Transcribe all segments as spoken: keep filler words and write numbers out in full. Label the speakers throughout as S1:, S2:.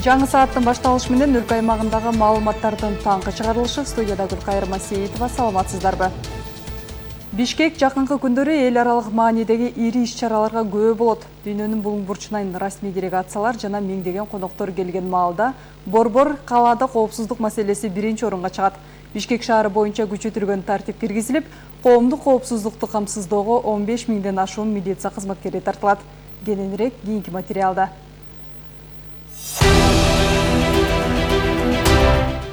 S1: Жаңы сааттын башталышы менен өлкө аймагындагы маалыматтардын таңкы чыгарылышы. Студияда Гүлкайыр Масеитова, саламатсыздарбы? Бишкек жакынкы күндөрү эл аралык маанидеги ири иш-чараларга күбө болот. Дүйнөнүн булуң бурчунан расмий делегациялар жана миңдеген коноктор келген маалда борбор калаада коопсуздук маселеси биринчи орунга чыгат. Бишкек шаары боюнча күчөтүлгөн тартип киргизилип, коомдук коопсуздукту камсыздоого он беш миңден ашуун милиция кызматкери тартылат. Кененирээк кийинки материалда.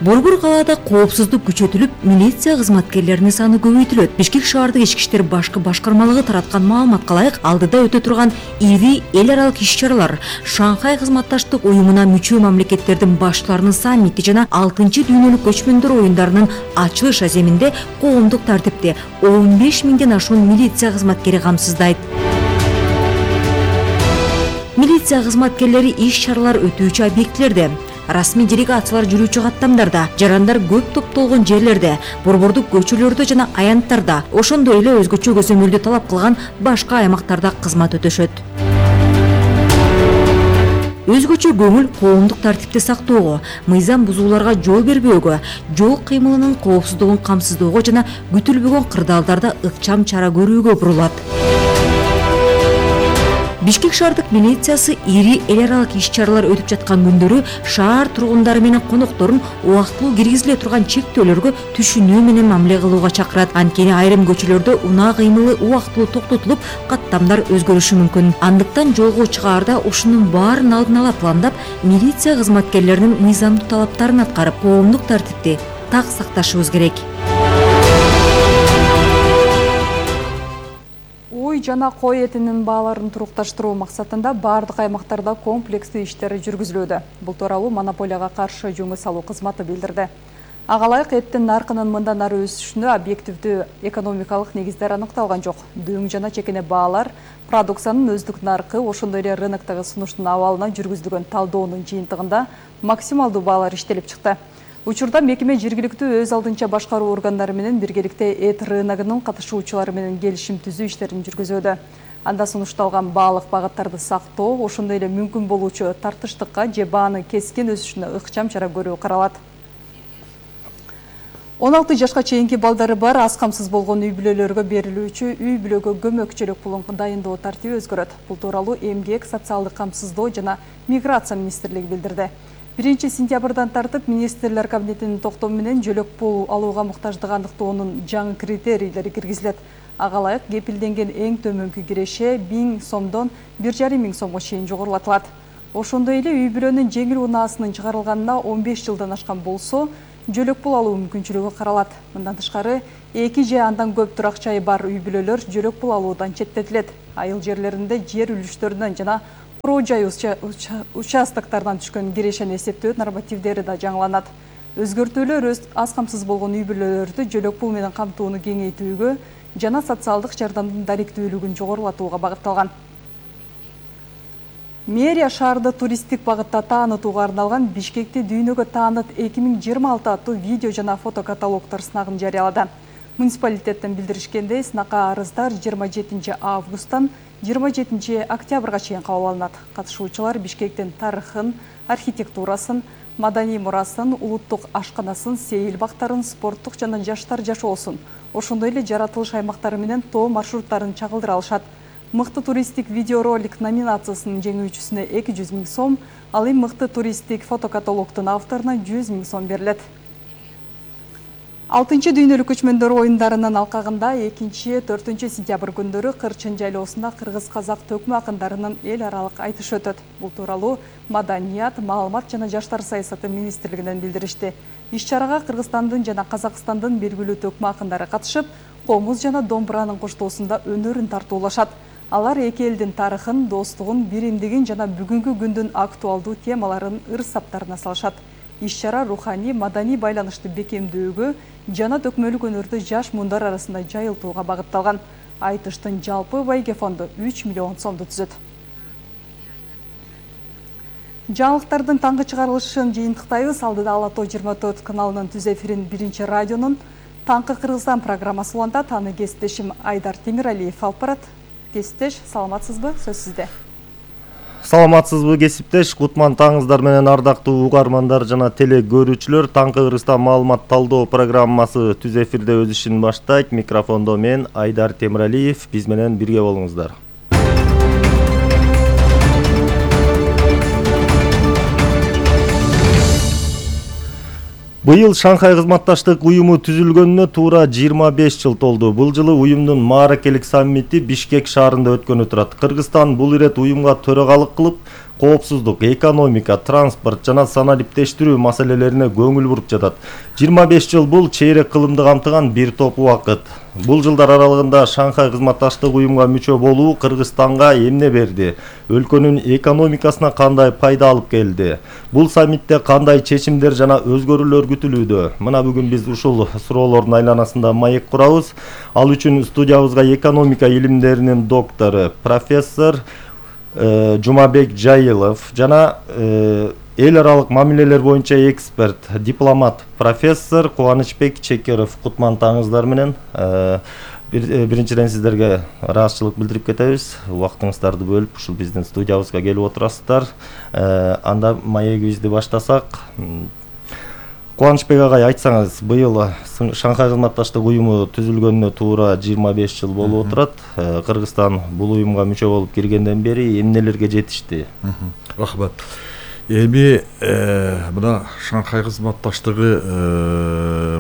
S2: Борбор калаада коопсуздук күчөтүлүп, милиция кызматкерлеринин саны көбөйтүлөт. Бишкек шаардык ички иштер башкы башкармалыгы тараткан маалыматка ылайык, алдыда өтө турган ири эл аралык иш-чаралар, Шанхай кызматташтык уюмуна мүчө мамлекеттердин баштарынын саммити жана алтынчы дүйнөлүк көчмөндөр оюндарынын ачылыш аземинде коомдук тартипти он беш миңден ашуун милиция кызматкери камсыздайт. Милиция кызматкерлери иш-чаралар өтүүчү объектилерде, расмий делегациялар жүрүүчү каттамдарда, жарандар көп топтолгон жерлерде, борбордук көчөлөрдө жана аянттарда, ошондой эле өзгөчө көзөмөлдү талап кылган башка аймактарда кызмат өтөшөт. Өзгөчө көңүл коомдук тартипти сактоого, мыйзам бузууларга жол бербөөгө, жол кыймылынын коопсуздугун камсыздоого жана күтүлбөгөн кырдаалдарда ыкчам чара көрүүгө бурулат. Бишкек шаардык милициясы ири эл аралык иш-чаралар өтүп жаткан күндөрү шаар тургундары менен конокторун убактылуу киргизиле турган чектөөлөргө түшүнүү менен мамиле кылууга чакырат. Анткени айрым көчөлөрдө унаа кыймылы убактылуу токтотулуп, каттамдар өзгөрүшү мүмкүн. Андыктан жолго чыгаарда ушунун баарын алдын ала пландап, милиция кызматкерлеринин мыйзамдуу талаптарын аткарып, коомдук тартипти так сакташыбыз керек.
S1: Уй жана кой этинин бааларын турукташтыруу максатында бардык аймактарда комплекстүү иштер жүргүзүлүүдө. Бул тууралуу монополияга каршы жөнгө салуу кызматы билдирди. Ага ылайык эттин наркынын мындан ары өсүшүнө объективдүү экономикалык негиздер аныкталган жок. Дөң жана чекене баалар, продукциянын өздүк наркы, ошондой эле рыноктогу сунуштун абалына жүргүзүлгөн талдоонун жыйынтыгында максималдуу баалар иштелип чыкты. Учурда мекеме жергиликтүү өз алдынча башкаруу органдары менен биргеликте эт рыногунун катышуучулары менен келишим түзүү иштерин жүргүзүүдө. Анда сунушталган баалык багыттарды сактоо, ошондой эле мүмкүн болуучу тартыштыкка же баанын кескин өсүшүнө ыкчам чара көрүү каралат. он алты жашка чейинки балдары бар аз камсыз болгон үй бүлөлөргө берилүүчү үй бүлөгө көмөкчүлүк пулун дайындоо тартиби өзгөрөт. Бул тууралуу Эмгек, социалдык камсыздоо жана миграция министрлиги билдирди. биринчи сентябрдан тартып министрлер кабинетинин токтому менен жөлөк пул алууга муктаждык аныктоонун жаңы критерийлери киргизилет. Ага ылайык кепилденген эң төмөнкү киреше миң сомдон бир жарым миң сомго чейин жогорулатылат. Ошондой эле үй бүлөнүн жеңил унаасынын чыгарылганына он беш жылдан ашкан болсо, жөлөк пул алуу мүмкүнчүлүгү каралат. Мындан тышкары, эки же андан көп турак жайы бар үй бүлөлөр жөлөк пул алуудан четтетилет. Айыл жерлеринде жер үлүштөрүнөн жана куруу жай участоктардан түшкөн кирешени эсептөө нормативдери да жаңыланат. Өзгөртүүлөр өз аз камсыз болгон үй бүлөлөрдү жөлөк пул менен камтууну кеңейтүүгө жана социалдык жардамдын даректүүлүгүн жогорулатууга багытталган. Мэрия шаарды туристтик багытта таанытууга арналган Бишкекти дүйнөгө тааныт эки миң жыйырма алты аттуу видео жана фотокаталогдор сынагын жарыялады. Муниципалитеттен билдиришкендей, сынакка арыздар жыйырма жетинчи августтан жыйырма жетинчи октябрга чейин кабыл алынат. Катышуучулар Бишкектин тарыхын, архитектурасын, маданий мурасын, улуттук ашканасын, сейил бактарын, спорттук жана жаштар жашоосун, ошондой эле жаратылыш аймактары менен тоо маршруттарын чагылдыра алышат. Мыкты туристтик видеоролик номинациясынын жеңүүчүсүнө эки жүз миң сом, ал эми мыкты туристтик фотокаталогдун авторуна жүз миң сом берилет. алтынчы дүйнөлүк көчмөндөр оюндарынын алкагында экинчи төртүнчү сентябрь күндөрү Кырчын жайлоосунда кыргыз-казак төкмө акындарынын эл аралык айтышы өтөт. Бул тууралуу Маданият, маалымат жана жаштар саясаты министрлигинен билдиришти. Иш-чарага Кыргызстандын жана Казакстандын белгилүү төкмө акындары катышып, комуз жана домбуранын коштоосунда өнөрүн тартуулашат. Алар эки элдин тарыхын, достугун, биримдигин жана бүгүнкү күндүн актуалдуу темаларын ыр-саптарына салышат. Иш-чара руханий, маданий байланышты бекемдөөгө жана төкмөлүк өнөрдү жаш муундар арасында жайылтууга багытталган. Айтыштын жалпы байге фонду үч миллион сомду түзөт. Жаңылыктардын таңкы чыгарылышын жыйынтыктайбыз. Алдыда Ала Тоо жыйырма төрт каналынын түз эфирин биринчи радионун Таңкы Кыргызстан программасы улантат. Аны кесиптешим Айдар Темиралиев алып барат. Кесиптеш, саламатсызбы? Сөз сизде.
S3: Саламатсызбы кесиптеш, кутман таңыңыздар менен ардактуу угармандар жана теле көрүүчүлөр. Таңкы Кыргызстан маалымат талдоо программасы түз эфирде өз ишин баштайт. Микрофондо мен Айдар Темиралиев, биз менен бирге болуңуздар. Быйыл Шанхай кызматташтык уюму түзүлгөнүнө туура жыйырма беш жыл толду. Бул жылы уюмдун мааракелик саммити Бишкек шаарында өткөнү турат. Кыргызстан бул ирет уюмга төрагалык кылып, коопсуздук, экономика, транспорт жана санариптештирүү маселелерине көңүл буруп жатат. жыйырма беш жыл бул чейрек кылымды камтыган бир топ убакыт. Бул жылдар аралыгында Шанхай кызматташтык уюмга мүчө болуу Кыргызстанга эмне берди? Өлкөнүн экономикасына кандай пайда алып келди? Бул саммитте кандай чечимдер жана өзгөрүүлөр күтүлүүдө? Мына бүгүн биз ушул суроолордун айланасында маек курабыз. Ал үчүн студиябызга экономика илимдеринин доктору, профессор Жумабек Жайылов жана эл аралык мамилелер боюнча эксперт, дипломат, профессор Кубанычбек Чекеров. Кутман таңыңыздар менен. Биринчиден сиздерге ыраазычылык билдирип кетебиз. Убактыңыздарды бөлүп ушул биздин студиябызга келип отурасыздар. Анда маегибизди баштасак, Кубанычбек агай, айтсаңыз, быйыл Шанхай кызматташтык уюму түзүлгөнүнө туура жыйырма беш жыл болуп отурат. Кыргызстан бул уюмга мүчө болуп киргенден бери эмнелерге жетишти?
S4: Рахмат. Эми мына Шанхай кызматташтыгы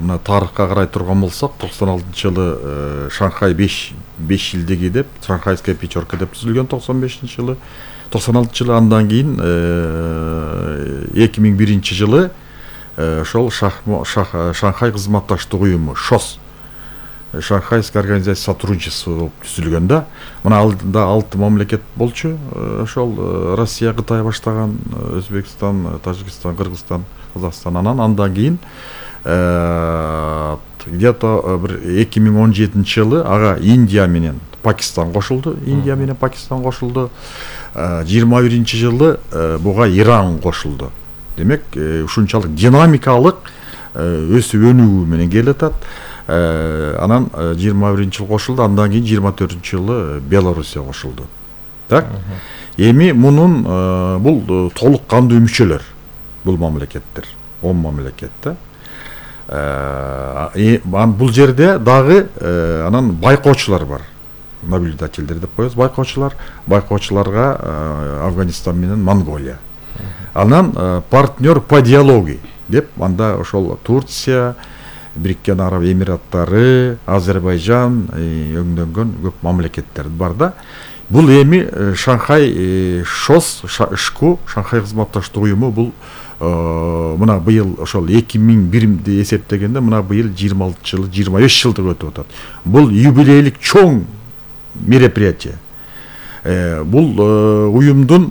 S4: мына тарыхка карай турган болсок, токсон алтынчы жылы Шанхай беш жылдыгы деп, Шанхайская пятерка деп түзүлгөн токсон бешинчи жылы. токсон алтынчы жылы андан кийин эки миң биринчи жылы ошол Шанхай кызматташтык уюму ШОС, Шанхайская организация сотрудничества болуп түзүлгөн да. Мына алдында алты мамлекет болчу. Ошол Россия, Кытай баштаган, Өзбекстан, Тажикстан, Кыргызстан, Казакстан, анан андан кийин где-то эки миң он жетинчи жылы ага Индия менен Пакистан кошулду. Индия менен Пакистан кошулду. жыйырма биринчи жылы буга Иран кошулду. Демек, ушунчалык динамикалык өсүп өнүгүү менен келатат. Анан жыйырма биринчи жылы кошулду, андан кийин жыйырма төртүнчү жылы Белоруссия кошулду. Так? Эми мунун бул толук кандуу мүчөлөр. Бул мамлекеттер, он мамлекет да. Бул жерде дагы анан байкоочулар бар. Наблюдательдер деп коебуз, байкоочулар. Байкоочуларга Афганистан менен Монголия. Анан партнер по диалогии деп, анда ошол Турция, Бириккен Араб Эмираттары, Азербайжан өңдөнгөн көп мамлекеттер бар да. Бул эми Шанхай ШОС, ШКУ, Шанхай кызматташтык уюму бул мына быйыл ошол эки миң бирди эсептегенде мына быйыл жыйырма алты жыл, жыйырма беш жылдык өтүп атат. Бул юбилейлик чоң мероприятие. Бул уюмдун